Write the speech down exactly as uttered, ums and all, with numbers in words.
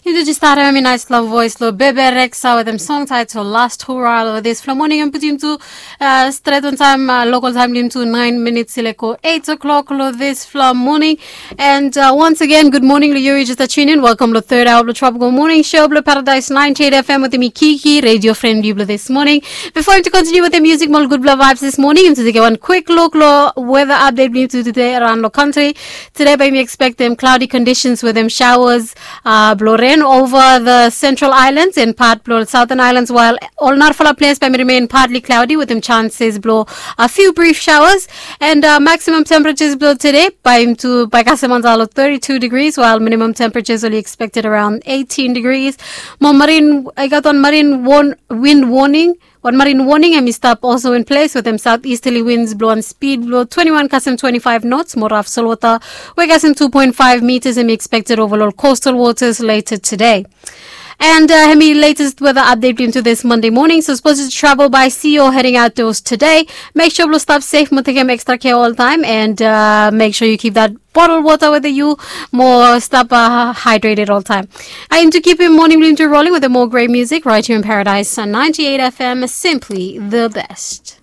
Yumi tu jes statem hem i naispela voes long Bebe Rexha wetem song taetol Last Hurrah long disfala moning. Em putum tu stret wantaem lokal taem blong yumi tu naen minits i lek go eit o'klok long disfala moning. And uh, once again, good morning long yu. Yu jes tunin in. Welcome long third hour blong Tropical Morning Show blong Paradise ninety-eight F M wetem mi Kiki, radio friend blong yu blong this morning. Before yumi tu continue wetem music mo ol gudfala vibes this morning, yumi tu tekem wan quick look long weather update blong yumi tu today around long country. Today bae yumi expectem cloudy conditions wetem showers uh, blong rain over the central islands and part blong southern islands, while ol narafala ples bae yumi remain partly cloudy wetem chances blong a few brief showers. And uh, maximum temperatures blong today bae yumi tu bae kasem antap long thirty-two degrees, while minimum temperatures only expected around eighteen degrees. Mo marine, I gat wan marine warn, wind warning. Wan marine warning hem i stap also in place wetem southeasterly winds blong wan speed blong twenty-one kasem twenty-five knots, mo raf solwota we kasem two point five meters hem i expected over long coastal waters later today. And uh, hem i latest weather update blong yumi tu this Monday morning. So suppose you travel by sea or heading outdoors today, make sure blong stap safe mo tekem extra care oltaem, and uh, make sure you keep that bottle water wetem yu mo stap uh, hydrated oltaem. And to keep yumi morning blong yumi tu rolling wetem more great music right here in Paradise on ninety-eight F M, simply the best.